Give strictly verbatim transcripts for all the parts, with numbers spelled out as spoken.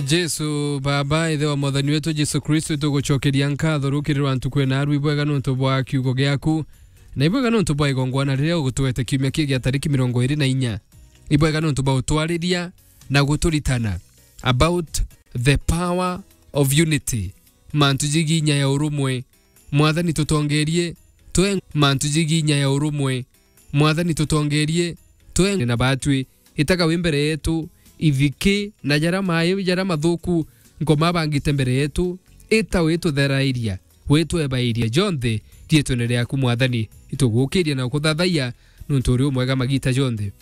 Jesu, Baba, Ithe wa Mwathani wetu Jesu Kristo, itugucokeria nkatho rukiri rwa ntuku ena aru. Ibwega nontu bwa kiugo giaku, na ibwega nontu bwa igongwana riria ugutwete kiumia kii gia tariki mirongo iri na inya. Ibwega nontu bwa utwariria na guturitana about the power of unity, mantu jigii inya ya urumwe. Mwathani, tutongerie twe mantu jigii inya ya urumwe. Mwathani, tutongerie twe na batwi. Itaga wi mbere yetu, ithiki na jaria mai, jaria mathuku nkoma bangite mbere yetu, ita witutherairia, witwebairia jonthe riitwene riaku. Mwathani, itugukiria na ukuthathaiya nontu uri umwega magita jonthe.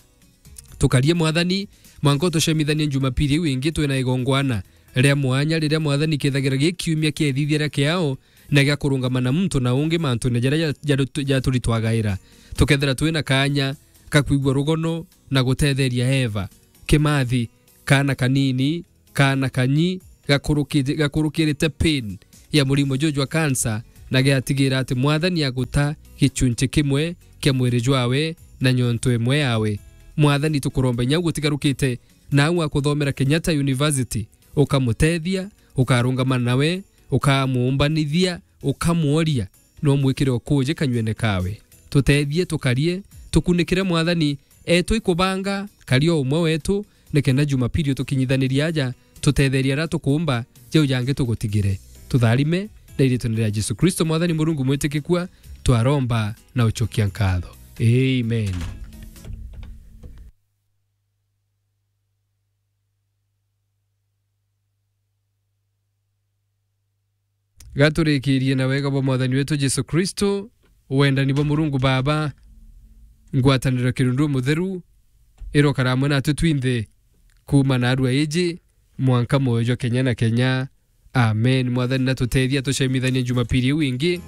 Tukarie, Mwathani, mwanka utucemithanie Jumapili iu ingi twina igongwana ria mwanya, riria, Mwathani, kithagira gi kiumia kia ithithia ria kiao na gia kurungama na muntu na ungi mantune jaria ja-, ja-, jaturitwagaira. Tukethira twina kaanya ka kwigua rugono na gutetheria Eva, Kimathi, kaana kanini, kaana kanyi gakuruki-, gakurukirite pain ya murimo juju jwa kansa, na giatigira ati Mwathani aguta gichunchi kimwe kia mwiri jwawe na nyonto imwe yawe. Mwathani, tukuromba inya ugutigarukite na au akuthomera Kenyatta University, ukamutethia, ukarungama nawe, ukamuumbanithia, ukamworia, no mwikire ukuji kanyuene kawe. Tutethie tukarie, tukunikire, Mwathani, etu ikubanga, karia umwe wetu, nikenda Jumapili utukinyithanirie aja, tutetherie aria tukuumba, jau jangi tugutigire. Tutharime na iritune ria Jesu Kristo, Mwathani Murungu mwitikikua, twaromba na uchokia nkatho. Amen. Gaturikirie na wega bwa Mwathani wetu Jesu Kristo, wendani bwa Murungu Baba, ngwataniro ya Kirundu Mutheru, irokara amwe natwe twinthe, kuuma naarua iji mwanka mwoyo jwa kenya na kenya. Amen. Mwathani natutethia tucemithanie Jumapili iu ingi.